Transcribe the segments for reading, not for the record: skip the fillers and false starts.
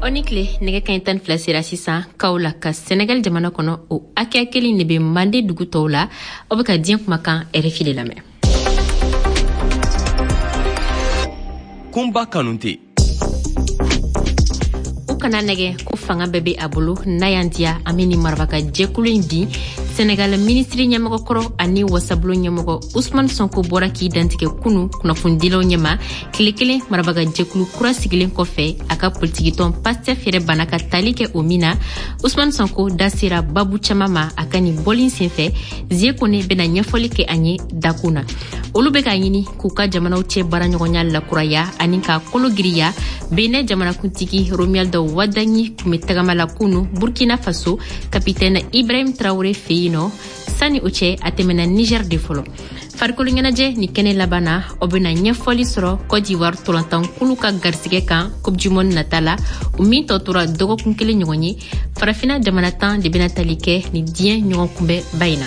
Aw ni tile. Nɛgɛ kaɲɛ 12 sera sisan Kaolack, Senegal jamana kɔnɔ. O hakɛya kelen de bɛ Mande dugu tɔw la. Aw bɛ ka diɲɛ kumakan RFI de lamɛn. Kunba Kanute. U kana nɛgɛ ko fanga bɛɛ bɛ a bolo. N'a y'an diya, an bɛ nin marabaga jɛkulu in bin. Senegal minisiri ɲɛmɔgɔ kɔrɔ ani wasabulon ɲɛmɔgɔ Usman Sonko bɔra k'i dantigɛ kunu kunnafonidilaw ɲɛma, tile kelen marabaga jɛkulu kura sigilen kɔfɛ, a ka politikitɔn Pastef yɛrɛ banna ka tali kɛ o min na. Usman Sonko da sera babu caaman ma a ka nin bɔli senfɛ. Zie Kone bena ɲɛfɔli kɛ an ye dakun na. Olu bɛ k'a ɲini k'u ka jamanaw cɛ baaraɲɔgɔnya lakuraya ani ka kolo giriya. Benin jamanakuntigi Romuald Wadagni tun bɛ tagama la kunu Burkina Faso, kapitɛne Ibrahim Traore fɛ yen nɔ. Sani o cɛ, a tɛmɛna Niger de fɔlɔ. Farikolo ɲɛnajɛ ni kɛnɛ laban na, o bena ɲɛfɔli sɔrɔ Cote d'Ivoire tolantankulu ka garisigɛ kan Coupe du monde nata la, o min tɔ tora dɔgɔkun kelen ɲɔgɔn ye. Farafina jamana 10 de bena tali kɛ ni diɲɛ ɲɔgɔn kunbɛba in na.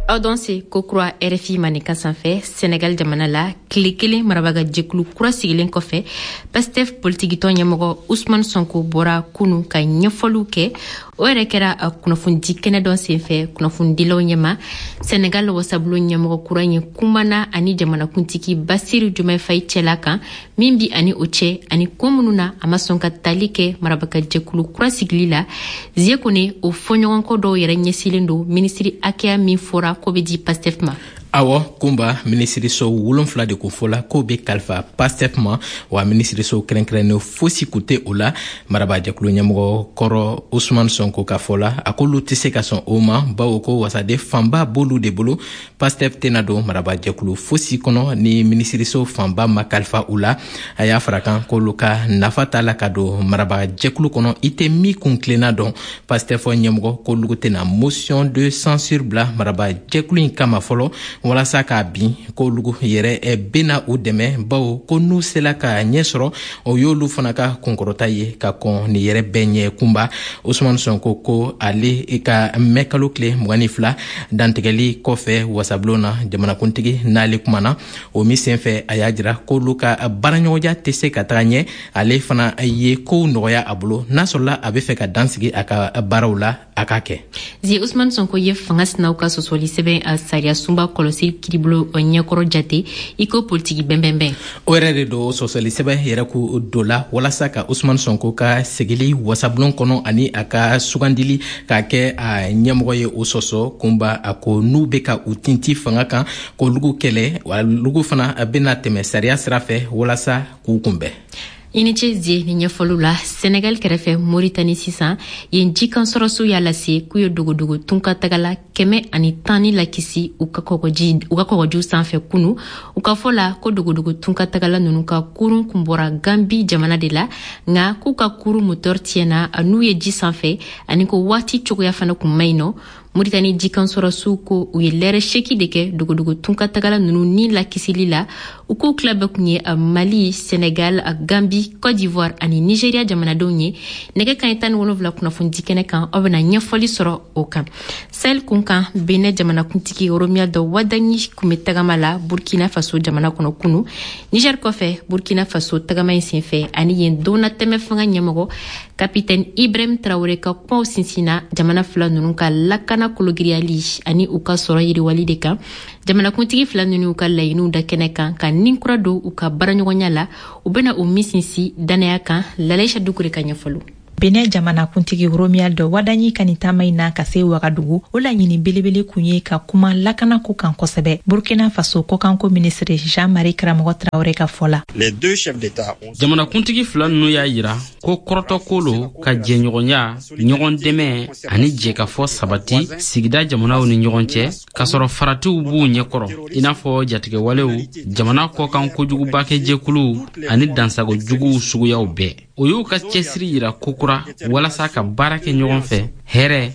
Aw danse kokura RFI Maninka sanfɛ. Senegal jamana la, tile kelen marabaga jɛkulu kura sigilen kɔfɛ, Pastef politikitɔn ɲɛmɔgɔ Usman Sonko bɔra kunu ka ɲɛfɔliw kɛ. O yɛrɛ kɛra kunnafonidi kɛnɛ dɔ senfɛ kunnafonidilaw ɲɛma. Senegal wasabulon ɲɛmɔgɔ kura ye kumana ani jamanakuntigi Basiru Jomay Faye cɛla kan min bi ani o cɛ, ani ko minnu na a ma sɔn ka tali kɛ marabaga jɛkulu kura sigili la. Zie Kone, o fɔɲɔgɔnkɔ dɔw yɛrɛ ɲɛsilen don minisiri hakɛya min fɔra ko bɛ di Pastef ma. Awɔ Kunba, minisiriso 7 de ko fɔla k'o bɛ kalifa Pastef ma. Wa minisiriso kɛrɛnkɛrɛnnen fosi kun tɛ o la. Marabajɛkulu ɲɛmɔgɔ kɔrɔ Usman Sonko ka fɔ la, a k'olu tɛ se ka sɔn o ma, bawo ko wasaden fanba b'olu de bolo. Pastef tɛna don marabajɛkulu fosi kɔnɔ ni minisiriso fanba ma kalifa u la. A y'a fara kan k'olu ka nafa t'a la ka don marabajɛkulu kɔnɔ i tɛ min kun tilenna dɔn. Pastef ɲɛmɔgɔ k'olu tɛna motion de censure bila marabajɛkulu in kama fɔlɔ walasa k'a bin, k'olu yɛrɛ bena u dɛmɛ, bawo ko n'u sela ka ɲɛ sɔrɔ, o y'olu fana ka kunkɔrɔta ye ka kɔn nin yɛrɛ bɛɛ ɲɛ. Kunba, Usman Sonko ko ale ka mɛ kalo tile 22 dantigɛli kɔfɛ wasabulon na, jamanakuntigi n'ale kumana o min senfɛ, a y'a jira k'olu ka baaraɲɔgɔnya tɛ se ka taga ɲɛ. Ale fana ye kow nɔgɔya a bolo, n'a sɔrɔla a bɛ fɛ ka dan sigi a ka baaraw la, a k'a kɛ. Zi, Usman Sonko ye fanga sinaw ka sɔsɔli sɛbɛn a sariya sunba kɔlɔsi kiribolo ɲɛkɔrɔ jate i ko politiki bɛnbɛnbɛn. O yɛrɛ de don. Sɔsɔli sɛbɛn yɛrɛ ko do la walasa ka Usman Sonko ka segili wasabulon kɔnɔ ani a ka sugandili k'a kɛ a ɲɛmɔgɔ ye, o sɔsɔ. Kunba, a ko n'u bɛ ka u tinti fanga kan k'olugu kɛlɛ, olugu fana bɛna tɛmɛ sariya sira fɛ walasa k'u kunbɛn. I ni ce Zie ni ɲɛfɔliw la. Senegal kɛrɛfɛ, Moritani sisan, yen jikan sɔrɔsiw y'a lase k'u ye dogodogo tunkatagala 110 ni lakisi u ka kɔgɔjiw sanfɛ kunu. U ka fɔ la ko dogodogo tunkatagala nunu ka kurun kun bɔra Gambi jamana de la, nka k'u ka kurun motɔr tiɲɛna n'u ye ji sanfɛ, ani ko waati cogoya fana kun man ɲi nɔ. Moritani jikan sɔrɔsiw ko u ye lɛrɛ 8 de kɛ dogodogo tunkatagala nunu ni lakisili la. U k'u tila bɛɛ kun ye Mali, Senegal, Gambi, Cote d'Ivoire ani Nigeria jamanadenw ye. Nɛgɛ kaɲɛ 17 kunnafonidi kɛnɛ kan, aw bena ɲɛfɔli sɔrɔ o kan. Sahel kun kan, Benin jamanakuntigi Romuald Wadagni kun bɛ tagama la Burkina Faso jamana kɔnɔ kunu, Niger kɔfɛ. Burkina Faso tagama in senfɛ, ani yen donnatɛmɛ fanga ɲɛmɔgɔ kapitɛne Ibrahim Traore ka kumaw sinsinna jamana fila nunu ka lakana kologiriyali ani u ka sɔrɔ yiriwali de kan. Jamanakuntigi fila nunu y'u ka laɲiniw da kɛnɛ kan ka nin kura don u ka baaraɲɔgɔnya la, u bena o min sinsin dannaya kan. Lalaisha Dukure ka ɲɛfɔliw. Benin jamanakuntigi Romuald Wadagni ka nin taama in na ka se Wagadugu, o laɲini belebele kun ye ka kuma lakanako kan kosɛbɛ. Burkina Faso kɔkanko minisiri Jean-Marie Karamɔgɔ Traoré ka fɔ la, Jamanakuntigi fila nunu y'a yira ko kɔrɔtɔko lo ka jɛɲɔgɔnya, ɲɔgɔn dɛmɛ ani jɛkafɔ sabati sigida jamanaw ni ɲɔgɔn cɛ, k'a sɔrɔ faratiw b'u ɲɛkɔrɔ, i n'a fɔ jatigɛwalew, jamana kɔkan kojugubakɛjɛkuluw ani dansago juguw suguyaw bɛɛ. O y'u ka cɛsiri yira kokura walasa ka baara kɛ ɲɔgɔn fɛ hɛrɛ,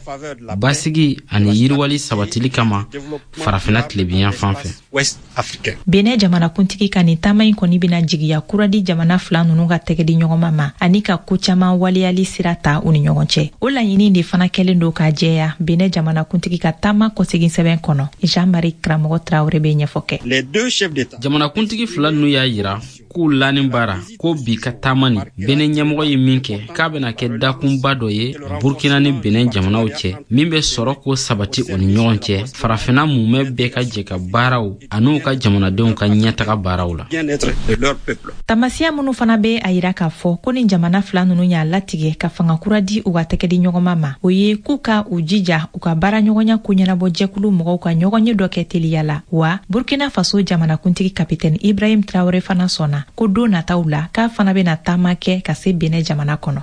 basigi ani yiriwali sabatili kama Farafina tilebinya fan fɛ. Benin jamanakuntigi ka nin taama in kɔni bɛna jigiya kura di jamana fila ninnu ka tɛgɛ di ɲɔgɔnma ma ani ka ko caman waleyali sira ta u ni ɲɔgɔn cɛ. O laɲini de fana kɛlen don k'a jɛya Benin jamanakuntigi ka taama kɔsegin sɛbɛn kɔnɔ. Jean Marie Karamɔgɔ Traoré bɛ ɲɛfɔ kɛ. Jamanakuntigi fila ninnu y'a yira k'u lani baara ko bi ka taama nin Benin ɲɛmɔgɔ ye min kɛ, k'a bɛna kɛ dakunba dɔ ye Burkina ni Benin jamanaw cɛ, min bɛ sɔrɔ k'o sabati u ni ɲɔgɔn cɛ, farafinna mumɛ bɛɛ ka jɛ ka baaraw an'u ka jamanadenw ka ɲɛtaga baaraw la. Tamasiya minnu fana bɛ a yira k'a fɔ ko ni jamana fila ninnu y'a latigɛ ka fanga kura di u ka tɛgɛdi ɲɔgɔnma ma, o ye k'u ka u jija u ka baaraɲɔgɔnya koɲɛnabɔ jɛkulu mɔgɔw ka ɲɔgɔnye dɔ kɛ teliya la. Wa Burkina Faso jamanakuntigi Kapitɛni Ibrahim Traore fana sɔnna ko don nataw la k'a fana bɛna taama kɛ ka se Benin jamana kɔnɔ.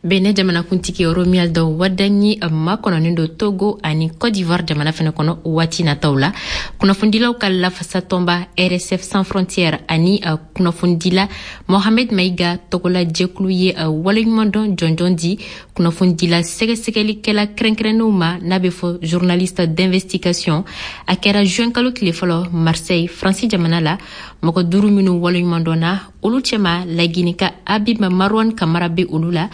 Benin jamanakuntigi Romuald Wadagni makɔnɔnen don Togo ani Côte d'Ivoire jamana fɛnɛ kɔnɔ waati nataw la. Kunnafonidilaw ka lafasatɔnba RSF Sans Frontières ani kunnafonidila Mohamed Maïga tɔgɔla jɛkulu ye waleɲumandɔn jɔnjɔn di kunnafonidila sɛgɛsɛgɛlikɛla kɛrɛnkɛrɛnnenw ma, n'a bɛ fɔ journaliste d'investigation. A kɛra juin kalo tile fɔlɔ Marseille, Faransi jamana la. Mɔgɔ 5 minnu waleɲumandɔnna, olu cɛma Laginika Habib Marwan Kamara bɛ olu la.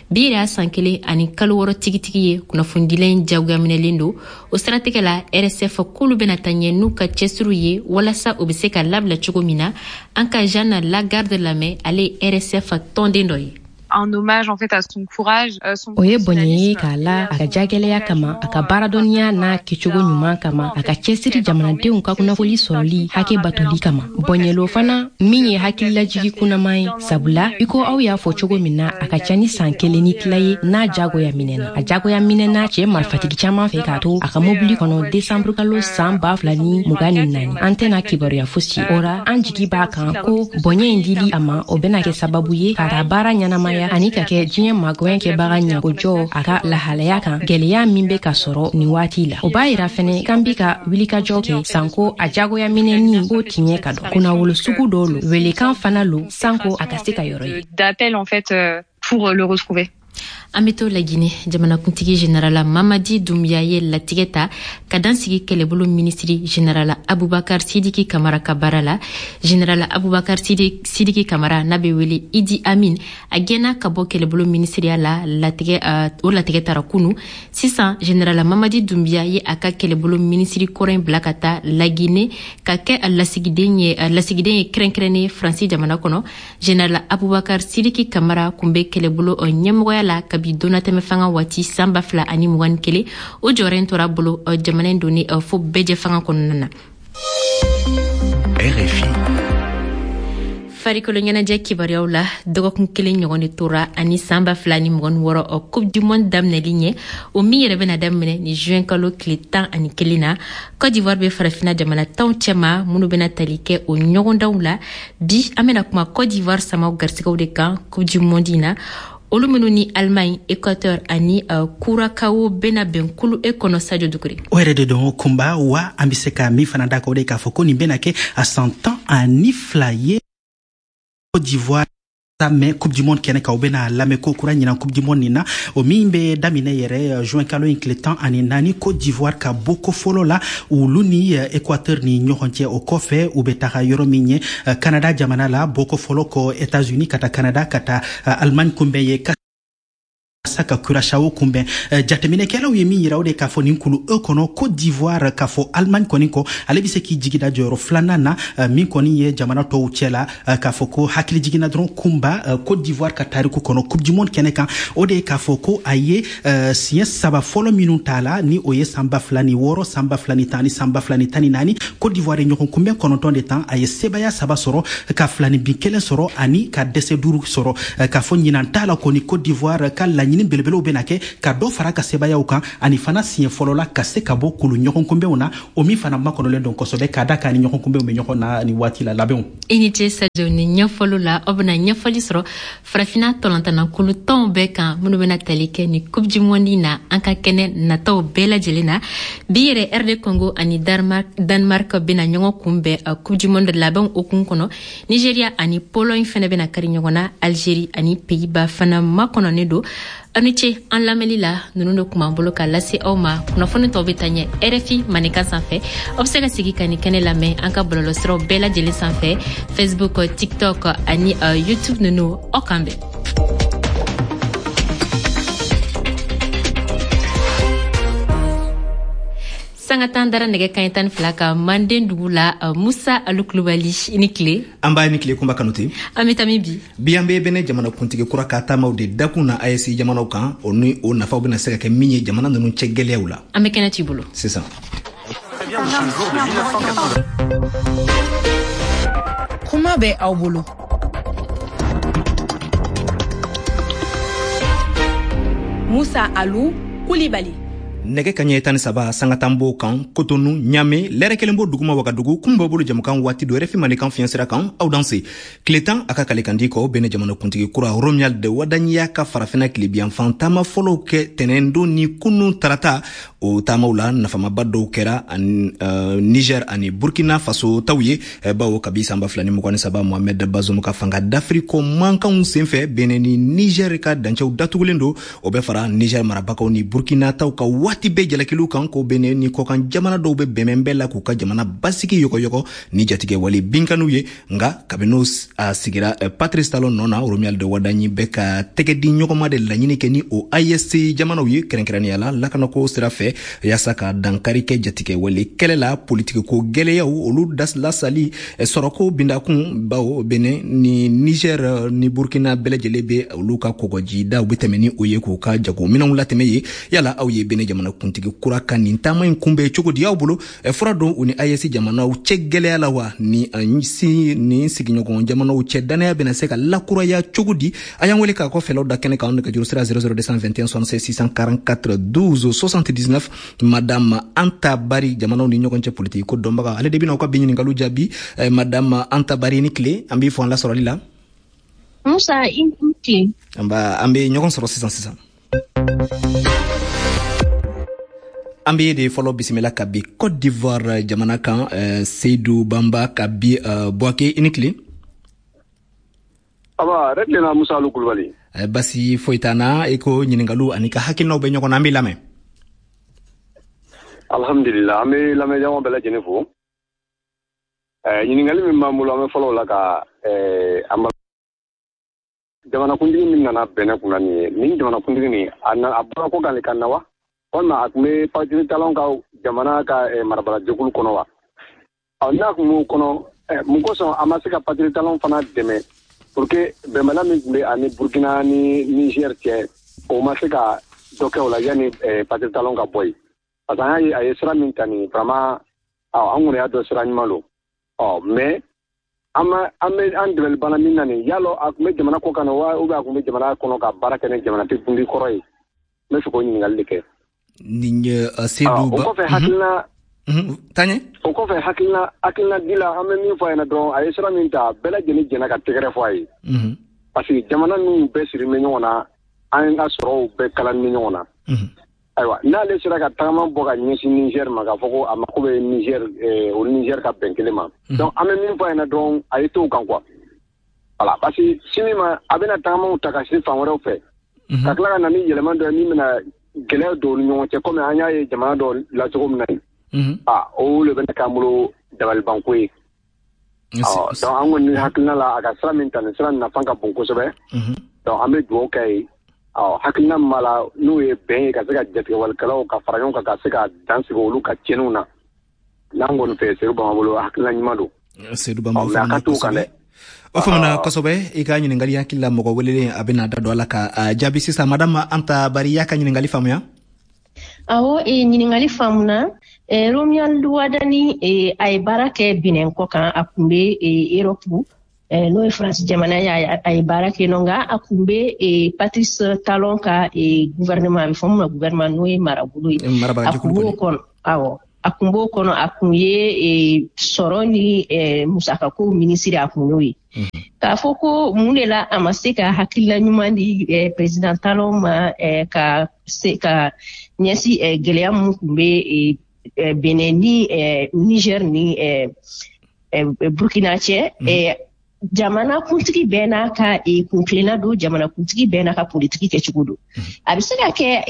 Bi yɛrɛ y'a san 1 ani kalo 6 tigitigi ye kunnafonidila in jagoya minɛlen don. O siratigɛ la, RSF k'olu bɛna taa ɲɛ n'u ka cɛsiriw ye walasa u bɛ se ka labila cogo min na. An ka Jeanne Lagarde lamɛn, ale ye RSF tɔnden dɔ ye. Un hommage en fait à son courage, son O ye bɔnɛ ye k'a la a ka jagɛlɛya kama, a ka baaradɔnniya n'a kɛcogo ɲuman kama, a ka cɛsiri jamanadenw ka kunnafoli sɔrɔli hakɛ batoli kama. Bɔnyɛlo fana min ye hakililajigi kunnaman ye, sabula i ko aw y'a fɔ cogo min na, a ka ca ni san kelen ni tila ye n'a jagoya minɛna. A jagoya minɛna cɛɛ marifatigi caaman fɛ k'a to a ka mobili kɔnɔ desanburukalo san 2024. An tɛna kibaruya fosi o ra. An jigi b'a kan ko bɔnyɛ in dili a ma, o bɛna kɛ sababu ye ka ta baara ɲɛnamaya ani ka kɛ diɲɛ magwɛn kɛbaga ɲakojɔ a ka lahalaya kan, gwɛlɛya min bɛ ka sɔrɔ nin waati la. O b'a yira fɛnɛ k'an bi ka wulikajɔ kɛ sanko a jagoya minɛni ko tiɲɛ ka dɔn. Kunnawolo sugu dɔw lo, welekan fana lo sanko a ka se ka yɔrɔ ye. D'appel en fait pour le retrouver. An bɛ to Lagine. Jamanakuntigi Generala Mamadi Dumbuya ye latigɛ ta ka dan sigi kɛlɛbolo minisiri Generala Abubakar Sidiki Kamara ka baara la. Generala Abubakar Sidiki Kamara, n'a bɛ wele Idi Amin, a gɛnna ka bɔ kɛlɛbolo minisiriya la. Latigɛ o latigɛ tara kunu. Sisan, Generala Mamadi Dumbuya ye a ka kɛlɛbolo minisiri kɔrɔ in bila ka taa Lagine ka kɛ lasigiden ye kɛrɛnkɛrɛnnen Faransi jamana kɔnɔ. Generala Abubakar Sidiki Kamara kun bɛ kɛlɛbolo ɲɛmɔgɔya la kabi donnatɛmɛ fanga waati san 2021. O jɔyɔrɔ in tora bolo jamana in donni fo bɛɛjɛ fanga kɔnɔna na. RFI. Farikolo ɲɛnajɛ kibaruyaw la, dɔgɔkun kelen ɲɔgɔn de tora ani san 2026 Coupe du monde daminɛli ɲɛ, o min yɛrɛ bɛna daminɛ ni juin kalo tile 11 na. Côte d'Ivoire bɛ farafina jamana tanw cɛma minnu bɛna tali kɛ o ɲɔgɔndanw la. Bi, an bɛna kuma Côte d'Ivoire samaw garisigɛw de kan Coupe du monde in na, olu minnu ni Allemagne, Équateur ani Curacao bɛna bɛn kulu E kɔnɔ. Sadio Dukure. O yɛrɛ de don, Kunba. Wa an bɛ se ka min fana da kan, o de k'a fɔ ko nin bɛna kɛ a san 12 ye Côte d'Ivoire mɛn Coupe du monde kɛnɛ kan. U bɛna lamɛn ko kura ɲinan Coupe du monde nin na, o min bɛ daminɛ yɛrɛ juin kalo in tile 14, Côte d'Ivoire ka bɔko fɔlɔ la, olu ni Équateur ni ɲɔgɔn cɛ. O kɔfɛ, u bɛ taga yɔrɔ min ye, Canada jamana la, bɔko fɔlɔ kɔ États-Unis, ka taa Canada, ka taa Allemagne kunbɛn ye sa ka Curaçao kunbɛn. Jateminɛkɛlaw ye min yira, o de k'a fɔ nin kulu E kɔnɔ, Côte d'Ivoire k'a fɔ Allemagne kɔni kɔ, ale bɛ se k'i jigi da jɔyɔrɔ filanan na min kɔni ye jamana tɔw cɛ la. K'a fɔ ko hakili jiginna dɔrɔn, Kunba, Côte d'Ivoire ka tariku kɔnɔ Coupe du monde kɛnɛ kan, o de ye k'a fɔ ko a ye siɲɛ saba fɔlɔ minnu t'a la, ni o ye san 2006, san 2010 ni san 2014, Côte d'Ivoire ye ɲɔgɔn kunbɛn 9 de tan, a ye sebaya saba sɔrɔ, ka filani bin kelen sɔrɔ ani ka dɛsɛ duuru sɔrɔ. K'a fɔ ɲinan t'a la kɔni, Côte d'Ivoire ka laɲini belebelew bɛna kɛ ka dɔ fara ka sebayaw kan ani fana siɲɛ fɔlɔ la ka se ka bɔ kulu ɲɔgɔn kunbɛnw na, o min fana makɔnɔlen don kosɛbɛ, k'a da k'a ni ɲɔgɔn kunbɛnw bɛ ɲɔgɔn na ni waati la labɛnw. I ni ce, Sadio, ni ɲɛfɔliw la. Aw bɛna ɲɛfɔli sɔrɔ farafinna tɔlɔntanna kulu tɔnw bɛɛ kan minnu bɛna tali kɛ ni Coupe du monde na an ka kɛnɛ nataw bɛɛ lajɛlen na. Bi yɛrɛ, RD Congo ani Danemark bɛna ɲɔgɔn kunbɛn Coupe du monde labɛnw hukumu kɔnɔ. Nigeria ani Pologne fɛnɛ bɛna kari ɲɔgɔn na. Algérie ani Pays-Bas fana makɔnɔnen don. Aw ni ce an lamɛnli la. Ninnu de kun b'an bolo ka lase aw ma. Kunnafoni tɔw bɛ taa ɲɛ RFI Maninka sanfɛ. Aw bɛ se ka sigi ka nin kɛnɛ lamɛn an ka bɔlɔlɔsiraw bɛɛ lajɛlen sanfɛ, Facebook, TikTok ani YouTube ninnu. Aw k'an bɛn. Sanga 10 dara nɛgɛ kaɲɛ 12 kan Manden dugu la. Musa Alu Kulubali, i ni tile. An b'a ni tile, Kunba Kanute. An bɛ taa min bi? Bi, an bɛ Bɛnɛ jamanakuntigi kura ka taamaw de dakun na AES jamanaw kan, o ni o nafaw bɛna se ka kɛ min ye jamana ninnu cɛ gɛlɛyaw la. An bɛ kɛnɛ t'i bolo. Sisan, kuma bɛ aw bolo. Musa Alu Kulibali. Nɛgɛ kaɲɛ 13 sanga 10 b'o kan Kotonu, Ɲame, lɛrɛ kelen b'o duguma Wagadugu. Kun b'aw bolo jamukan waati do RFI Mandenkan fiɲɛ sira kan. Aw danse. Tile 10 a ka kalekandi kɔ, Bɛnɛ jamanakuntigi kura Romuald Wadagni y'a ka Farafina tilebiyanfan taama fɔlɔw kɛ tɛnɛndon ni kunun tarata. O taamaw la, nafamaba dɔw kɛra ani Niger ani Burkina Faso taw ye, bawo kabi san 2023, Mohamed Bazoum ka fanga dafiri ko mankanw senfɛ, Bɛnɛ ni Niger ka dancɛw datugulen don. O bɛ fara Niger marabagaw ni Burkina taw ka waati bɛɛ jalakiliw kan ko Bɛnɛ ni kɔkan jamana dɔw bɛ bɛnbɛn bɛɛ la k'u ka jamana basigi yɔgɔyɔgɔ ni jatigɛwale binkaniw ye. Nka kabini a sigira Patrice Talon nɔ na, Romuald Wadagni bɛ ka tɛgɛ di ɲɔgɔnma de laɲini kɛ ni o AES jamanaw ye, kɛrɛnkɛrɛnnenya la lakanako sira fɛ, yaasa ka dankari kɛ jatigɛwale kɛlɛ la, politikiko gɛlɛyaw olu lasali, sɔrɔko bindakun, bawo Bɛnɛ ni Niger ni Burkina bɛɛ lajɛlen bɛ olu ka kɔgɔjida u bɛ tɛmɛ ni o ye k'u ka jagominɛnw latɛmɛ ye. Yala aw ye Bɛnɛ jamana kuntigi kura ka nin taama in kunbɛn cogo di? Aw bolo, fura don u ni AES jamanaw cɛ gɛlɛya la wa? Ni si ni sigiɲɔgɔn jamanaw cɛ dannaya bɛna se ka lakuraya cogo di? A y'an wele k'a kɔ fɛlaw da kɛnɛ kan. Nɛgɛjuru sira 00221 76 644 12 79. Madame Anta Bari, jamanaw ni ɲɔgɔn cɛ politiki ko dɔnbaga, ale de bɛna aw ka bi ɲininkaliw jaabi. Madame Anta Bari, ni tile, an b'i fɔ an lasɔrɔli la. Musa, i ni tile. An bɛ ɲɔgɔn sɔrɔ sisan sisan. An bɛ de fɔlɔ bisimila ka bi Côte d'Ivoire jamana kan, Seydou Bamba ka bi Bouaké, i ni tile. Aba, yɛrɛ tilenna, Musa Alu Kulubali. Basi foyi t'an na. I ko ɲininkaliw ani ka hakilinaw bɛ ɲɔgɔn na, an b'i lamɛn. Alhamdulillah, an bɛ lamɛnjama bɛɛ lajɛlen fo. Ɲininkali min b'an bolo, an bɛ fɔlɔ o la ka an jamanakuntigi min nana Bɛnɛ kunna nin ye, nin jamanakuntigi nin, a bɔra ko kan de ka na wa, walima a tun bɛ Patrice Talon ka jamana ka marabalajɛkulu kɔnɔ wa? Ɔ, n'a tun b'o kɔnɔ, mun kosɔn a ma se ka Patrice Talon fana dɛmɛ pour que bɛnbaliya min tun bɛ ani Burkina ni Niger cɛ, o ma se ka dɔ kɛ o la yanni Patrice Talon ka bɔ yen? Parce que an y'a ye, a ye sira min ta nin, vraiment, an kɔni y'a dɔn sira ɲuman don. Ɔ, mais an ma an bɛ an dɛmɛli banna min na nin, yalɔ a tun bɛ jamana kɔ kan wa, ou bien a tun bɛ jamana kɔnɔ ka baara kɛ ni jamanakuntigi kɔrɔ ye? N bɛ fɛ k'o ɲininkali de kɛ. Nin ye Seydou Ba. O kɔfɛ, hakilina taɲɛ. O kɔfɛ, hakilina di la, an bɛ min fɔ a ɲɛna dɔrɔn, a ye sira min ta, bɛɛ lajɛlen jɛnna ka tɛgɛrɛ fɔ a ye. Parce que jamana ninnu bɛɛ siri bɛ ɲɔgɔn na, an ka sɔrɔw bɛɛ kalani bɛ ɲɔgɔn na. Ayiwa, n'ale sera ka tagama bɔ ka ɲɛsin Niger ma, k'a fɔ ko a mako bɛ Niger, o Niger ka bɛn kelen ma. Donc an bɛ min fɔ a ɲɛna dɔrɔn, a ye to o kan quoi. Voilà, parce que sini ma, a bɛna tagamaw ta ka se fan wɛrɛw fɛ. Ka tila ka na ni yɛlɛma dɔ ye min bɛna gɛlɛya don u ni ɲɔgɔn cɛ, komi an y'a ye jamana dɔ la cogo min na yen. Ah, o de bɛna k'an bolo dabalibanko ye. Ɔ, donc an kɔni hakilina la, a ka sira min ta, nin sira nafa ka bon kosɛbɛ. Donc an bɛ dugawu kɛ ye. Ɔ, hakilina min b'a la, n'o ye bɛn ye, ka se ka jatigɛwalikɛlaw ka fara ɲɔgɔn kan, ka se ka dan sigi olu ka tiɲɛniw na. N'an kɔni fɛ, Seydou Bamba bolo, hakilina ɲuman don. Seydou Bamba, mais a ka t'o kan dɛ. O faamuna kosɛbɛ. I ka ɲininkali hakili la, mɔgɔ welelen a bɛna da don a la ka jaabi sisan. Madame Anta Bari, y'a ka ɲininkali faamuya? Awɔ, ɲininkali faamuna. Romuald Wadagni, a ye baara kɛ Benin kɔ kan, a kun bɛ Europe, n'o ye Faransi jamana ye, a ye baara kɛ nɔ, nka a kun bɛ Patrice Talon ka gouvernement, a bɛ fɔ min ma gouvernement, n'o ye marabolo ye, a kun b'o kɔnɔ. Awɔ, a kun b'o kɔnɔ, a kun ye sɔrɔ ni musakako minisiri, a kun y'o ye. K'a fɔ ko mun de la a ma se ka hakilina ɲuman di président Talon ma ka se ka ɲɛsin gɛlɛya mun kun bɛ Benin ni Niger ni Burkina cɛ, jamana kuntigi bɛɛ n'a ka kuntilenna don, jamana kuntigi bɛɛ n'a ka politiki kɛcogo don. A bɛ se ka kɛ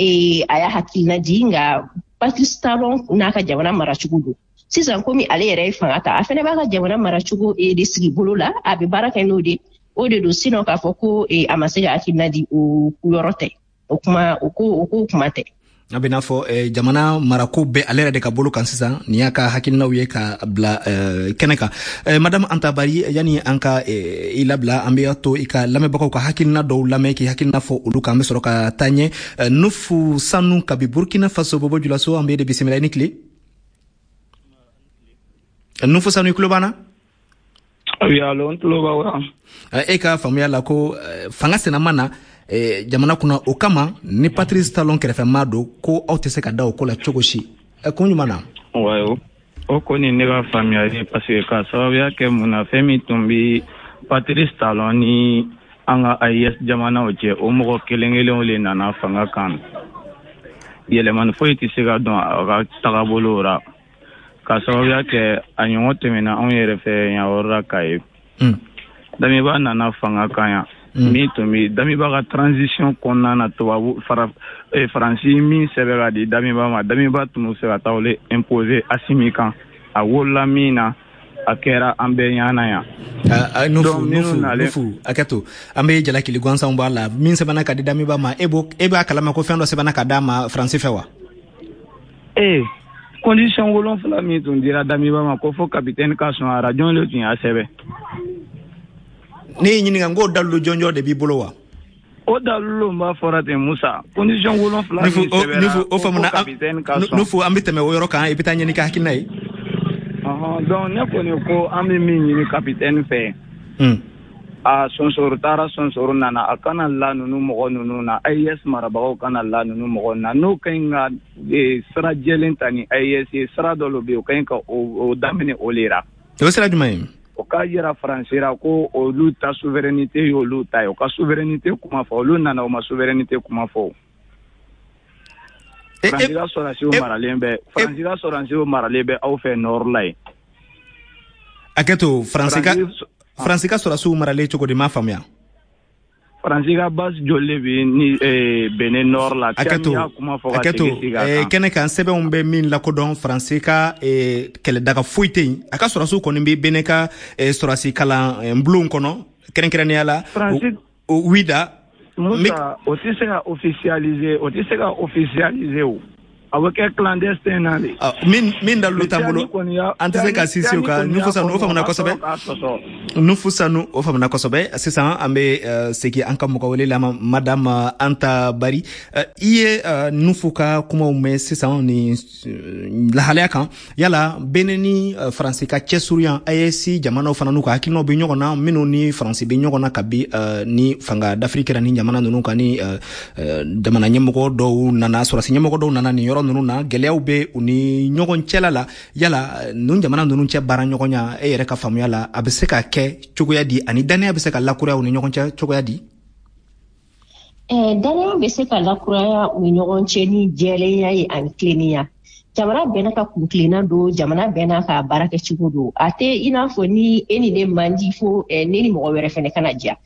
a y'a hakilina di, nka Patrice Talon n'a ka jamana maracogo don. Sisan, komi ale yɛrɛ ye fanga ta, a fɛnɛ b'a ka jamana maracogo de sigi bolo la, a bɛ baara kɛ n'o de, o de don. Sinon k'a fɔ ko a ma se ka hakilina di, o yɔrɔ tɛ, o kuma, o ko kuma tɛ. A bɛ n'a fɔ jamana marako bɛ ale yɛrɛ de ka bolo kan sisan. Nin y'a ka hakilinaw ye ka bila kɛnɛ kan. Madame Anta Bari, yani an ka i labila, an bɛ to i ka lamɛnbagaw ka hakilina dɔw lamɛn, k'i hakilina fɔ olu kan, an bɛ sɔrɔ ka taa ɲɛ. Nufu Sanu kabi Burkina Faso, Bobo Julaso, an bɛ de bisimila. I ni tile, Nufu Sanu, i tulo b'an na? Oui, allo, n tulo b'aw la. E ka faamuya la, ko fanga senama na jamana kunna, o kama ni Patrice Talon kɛrɛfɛmaa don, ko aw tɛ se ka da o ko la cogo si, kun jumɛn na? Ouais, o kɔni ne ka faamuyali, parce que ka sababuya kɛ mun na, fɛn min tun bi Patrice Talon ni an ka AES jamanaw cɛ, o mɔgɔ kelen kelenw le nana fanga kan. Yɛlɛmani foyi tɛ se ka dɔn a ka tagabolo ra, ka sababuya kɛ a ɲɔgɔn tɛmɛna anw yɛrɛ fɛ yan yɔrɔ la k'a ye. Damiba nana fanga kan yan, min tun bɛ Damiba ka transition kɔnɔna na, tubabu fara Faransi min sɛbɛn ka di Damiba ma, Damiba tun bɛ fɛ ka taa olu imposer Asimi kan. A wolola min na, a kɛra an bɛɛ ɲana yan. Nufu, Nufu, Nufu, hakɛ to, an bɛ jalakili gansanw b'a la. Min sɛbɛnna ka di Damiba ma, e b'a kalama ko fɛn dɔ sɛbɛnna ka d'a ma Faransi fɛ wa? Ee, condition 7 min tun dira Damiba ma, ko fo capitaine ka sɔn a ra, jɔn le tun y'a sɛbɛn? Ne y'i ɲininka n k'o dalilu jɔnjɔn de b'i bolo wa? O dalilu b'a fɔra ten, Musa, condition 7 min sɛbɛnna. Nufu, o faamuna. Nufu, an bɛ tɛmɛ o yɔrɔ kan, i bɛ taa ɲɛ n'i ka hakilina ye. Donc ne kɔni ko an bɛ min ɲini capitaine fɛ, a sonsoro taara, sonsoro nana, a kana la ninnu mɔgɔ ninnu na, AES marabagaw kana la ninnu mɔgɔ na. N'o ka ɲi ka sira jɛlen ta ni AES ye, sira dɔ bɛ yen, o ka ɲi ka o daminɛ o le ra. O sira jumɛn ye? O k'a yira Faransi ra ko olu ta souveraineté y'olu ta ye, o ka souveraineté kuma fɔ. Olu nana, o ma souveraineté kuma fɔ. Faransi ka sɔrɔdasiw maralen bɛ, Faransi ka sɔrɔdasiw maralen bɛ aw fɛ nord la yen. Hakɛ to, Faransi ka sɔrɔdasiw maralen cogo di? M'a faamuya. Faransi ka base joli de bɛ ni Benin nord la? Hakɛ to, hakɛ to, kɛnɛ kan sɛbɛnw bɛ min lakodɔn, Faransi ka kɛlɛdaga foyi tɛ yen. A ka sɔrɔdasiw kɔni bɛ Benin ka sɔrɔdasi kalan bulon kɔnɔ, kɛrɛnkɛrɛnnenya la Wida. Musa, o tɛ se ka officialiser, o tɛ se ka officialiser, o a bɛ kɛ clandestin na de. Min dalilu t'an bolo, an tɛ se ka sinsin o kan. Nufu Sanu, o faamuna kosɛbɛ. Nufu Sanu, o faamuna kosɛbɛ. Sisan an bɛ segin an ka mɔgɔ wele la, Madame Anta Bari. I ye Nufu ka kumaw mɛn sisan nin lahalaya kan. Yala Benin ni Faransi ka cɛsurunya, AES jamanaw fana n'u ka hakilinaw bɛ ɲɔgɔn na, minnu ni Faransi bɛ ɲɔgɔn na kabi ni fanga dafiri kɛra ni jamana ninnu kan, ni jamana ɲɛmɔgɔ dɔw nana, sɔrɔdasi ɲɛmɔgɔ dɔw nana nin yɔrɔ ninnu na, gɛlɛyaw bɛ u ni ɲɔgɔn cɛla la. Yala ninnu jamana ninnu cɛ baara ɲɔgɔnya, e yɛrɛ ka faamuya la, a bɛ se ka kɛ cogoya di, ani danaya bɛ se ka lakuraya u ni ɲɔgɔn cɛ cogoya di? Danaya bɛ se ka lakuraya u ni ɲɔgɔn cɛ ni jɛlenya ye ani tilennenya. Jamana bɛɛ n'a ka kuntilenna don, jamana bɛɛ n'a ka baara kɛcogo don. A tɛ i n'a fɔ ni e ni ne man di, fo ne ni mɔgɔ wɛrɛ fɛnɛ kana diya.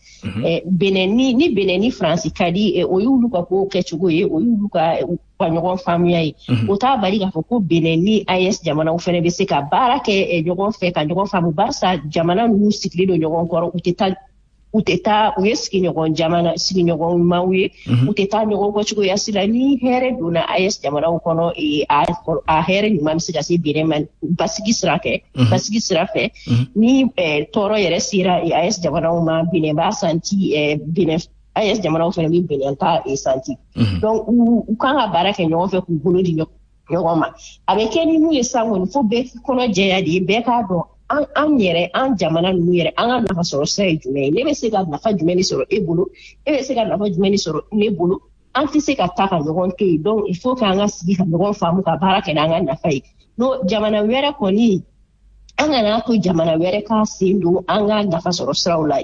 Benin ni Benin ni Faransi ka di, o y'olu ka ko kɛcogo ye, o y'olu ka ɲɔgɔn faamuya ye. O t'a bali k'a fɔ ko Benin ni AES jamanaw fɛnɛ bɛ se ka baara kɛ ɲɔgɔn fɛ, ka ɲɔgɔn faamu, barisa jamana ninnu sigilen don ɲɔgɔn kɔrɔ, u tɛ taa, u ye sigiɲɔgɔn jamana, sigiɲɔgɔnmaw ye, u tɛ taa ɲɔgɔn kɔ cogoya si la. Ni hɛrɛ donna AES jamanaw kɔnɔ, a hɛrɛ ɲuman bɛ se ka se Benin ma basigi sira fɛ, basigi sira fɛ. Ni tɔɔrɔ yɛrɛ sera AES jamanaw ma, Benin b'a santi, Benin AES jamanaw fana bɛ Benin ta santi. Donc u kan ka baara kɛ ɲɔgɔn fɛ, k'u bolo di ɲɔgɔn ma. A bɛ kɛ ni mun ye sisan kɔni, fo bɛɛ kɔnɔ jɛya de ye, bɛɛ k'a dɔn an yɛrɛ, an jamana ninnu yɛrɛ, an ka nafa sɔrɔ sira ye jumɛn ye. Ne bɛ se ka nafa jumɛn de sɔrɔ e bolo, e bɛ se ka nafa jumɛn de sɔrɔ ne bolo. An tɛ se ka taa ka ɲɔgɔn to yen. Donc il faut k'an ka sigi ka ɲɔgɔn faamu, ka baara kɛ n'an ka nafa ye. N'o jamana wɛrɛ kɔni, an kana to jamana wɛrɛ k'a sen don an ka nafa sɔrɔ siraw la.